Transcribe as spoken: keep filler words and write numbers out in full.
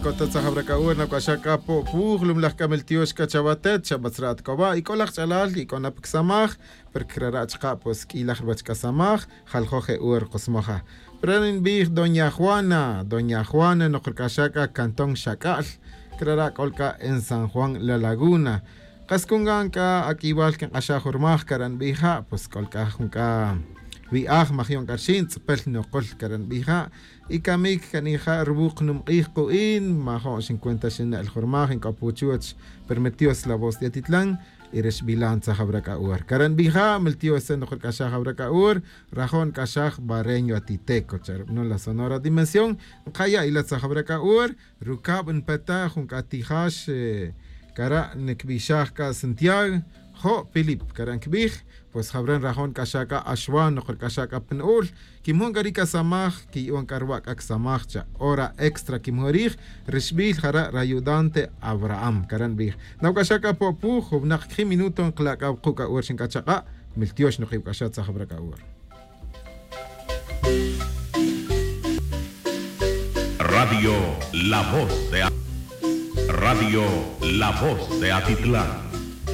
Cota tzajabra c'a ur nac'axaj c'a po' puj lumlaj c'a miltiox c'a chawatet chabatzra' atcoba' y c'o laj ch'alal y c'o na pa csamaj. Porque crara' chaka' pues q'uiylaj ruwech c'a samaj jaljoj je ur kosmoja. Pero ninbij doña juana doña juana nokruc'axaj c'a cantón xac'al. Crara' c'ol c'a en san juan la laguna. Kas cungan c'a aq'uiywal quink'axaj jun rmaj cara' nbij ja' pues c'ol c'a jun c'a wi'aj majion c'a rxin tz'upel nokol cara' nbij ja'. Y camic ca nija' ruwuq numk'ij ku'in majo'n xincuenta xinne'l jun rmaj inc'o puchuch. Permitios la voz de atitlan y re xbilan tzaj awra c'a ur cara' nbij ja' miltios tze nokruc'axaj awra c'a ur. Rajo'n nc'axaj bareño atiteco cha' rub'anol la sonora dimensión. Nkaya' ila tzaj awra c'a ur rucab npetaj jun c'a tijax. Cara' ncbixaj c'a santiago jo' pilip cara' ncbij. Pues jawra nrajon nc'axaj c'a axwan nokruc'axaj c'a pa nu'ul. Quimujun c'a ri c'a samaj quiya'on c'a ruwa' c'a csamaj cha' hora extra quimujun rij. Rixbil jara' rayudante abraham cara' nbij. Nawc'axaj c'a po' puj jun winak quijin minuto nkala' c'a wuku' c'a ur xinc'a chak'a'. Miltiox nokibc'axaj tzaj jawra c'a ur. Radio la voz de radio la voz de atitlan.